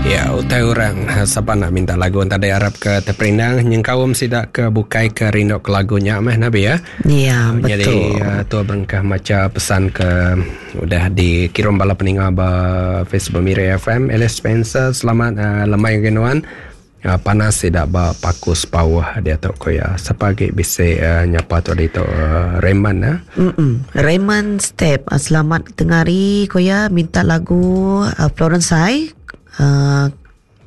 Ya, utai orang sapa nak minta lagu tadi arap ke teperindang nyengkaum sida ke bukai ke rindu ke lagu nya meh nabi ya. Ya, betul. Jadi tu berengkah macha pesan ke udah dikirum bala peninga ba Facebook Miri FM. Alice Spencer, selamat uh, lemai ngagai nuan. Uh, panas sida ba Paku Sepauh diatu ku iya. Sapa agi bisi uh, nyapa tu ditu uh, Raymond eh. Mm-mm. Raymond Step uh, selamat tengah hari ku iya minta lagu uh, Florence Sai uh,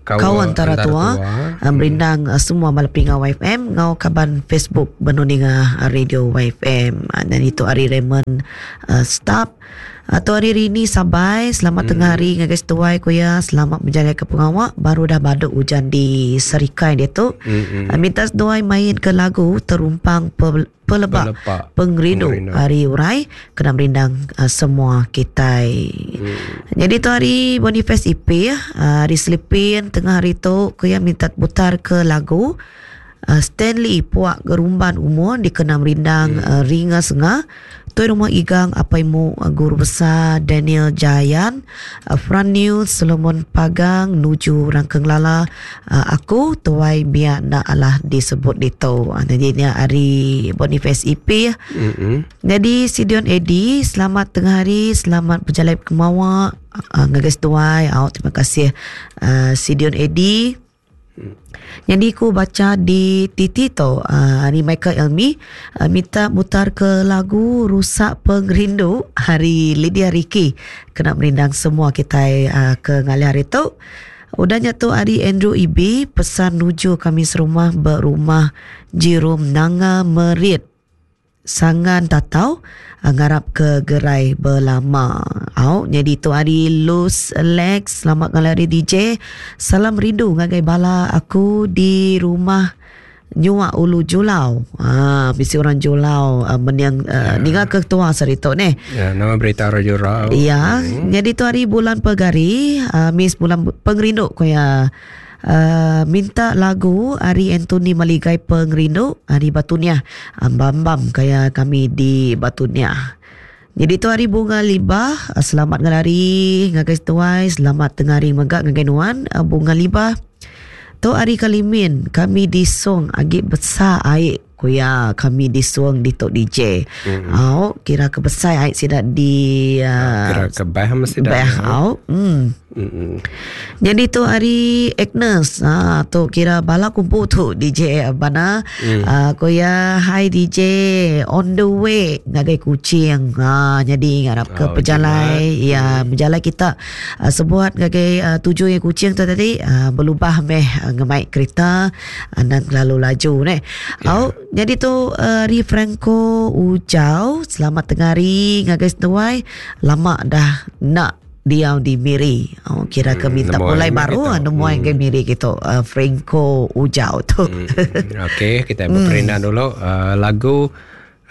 Kau antara, antara tua, tua. Uh, merindang uh, semua bala peninga YFM ngau kaban Facebook benung ninga radio YFM. Uh, dan itu hari Raymond uh, Stap. Atu hari rini sabai selamat hmm. tengah hari ngagai setuai ku ya selamat berjalai ke pengawa baru dah baduk hujan di Serikai dia tu. Hmm. Minta seduai main ke lagu terumpang pe, pelebak, pelebak pengerindu hari urai kena merindang uh, semua kitai. Hmm. Jadi tu hari Boniface IP uh, hari Selipin tengah hari tu ku ya minta putar ke lagu uh, Stanley Puak Gerumban Umur dikena merindang hmm. uh, Ringa Sengah Tuai Rumah Igang Apai Mu Guru Besar Daniel Jayan Fran New Solomon Pagang nuju Rangkeng Lala aku tuai biak enda alah disebut ditu. Jadi nya ari Boniface IP. Mm-hmm. Jadi Sidion Edi selamat tengah hari selamat berjalai kemawa ngagai seduai. Au terima kasih Sidion Edi. Nyadi ku bacha di titi tu uh, ari Michael Elmi uh, minta mutar ke lagu Rusak Pengerindu hari Lydia Ricky kena merindang semua kitai uh, ke ngalih hari tu. Udah nya tu ari Andrew Ibi pesan nuju kami serumah berumah Jirum Nanga Merit. Sangan tatau ngarap ke gerai belama. Au nyadi tu hari Luz Lex selamat ngalih hari DJ. Salam rindu ngagai bala aku di rumah Nyuak Ulu Julau. Ha bisi orang Julau uh, mening uh, ninga ke ketua sehari tu neh. Ya, nama berita orang Julau. Ya, hmm. nyadi tu hari bulan Pegari, uh, miss bulan pengerindu ko ya. Uh, minta lagu ari Anthony Maligai Pengerindu ari Batu Niah. Ambam-ambam kaya kami di Batu Niah. Jadi tu hari Bunga Libah, selamat ngelari ngagai seduai, selamat tengah hari mega ngagai nuan Bunga Libah. Tu hari Kalimin, kami di Song agi besar ai ku iya kami di Song ditu DJ. Mm. Au kira ke besai ai sida di uh, kira ke bah mesti dah. Bah au. Mm. Mm-mm. Jadi tu hari Agnes ha, tu kira bala kumpu tu DJ Abana mm. uh, ko ya hi DJ on the way ngagai Kuching ha, jadi ngarap ke oh, pejalai ya mm. berjalai kita uh, sebuat ngagai uh, tuju yang Kuching tu tadi uh, berlubah meh uh, ngemai kereta uh, dan terlalu laju neh. Yeah. Au jadi tu uh, hari Franco Ujau selamat tengah hari ngagai seduai lama dah nak diau di Miri. Oh, kira ke minta hmm, pulai baru ah, nemuai hmm. ke Miri gitu. Uh, Franco Ujau tu. Hmm. Okey, kita berperindang hmm. dulu uh, lagu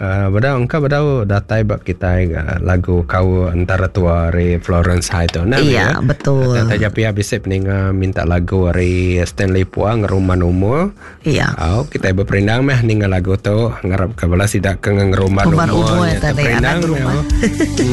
uh, bedau engka bedau datai ba kita uh, lagu kau antara tua ari Florence High tu. Nah, iya, ya? betul. Taja pia bisi peninga minta lagu ari Stanley Puang Ngeruman Umur. Iya. Au, kita berperindang meh ninga lagu tu ngarap ke bala sida ke ngeruman umur. Umur tadi anak rumah.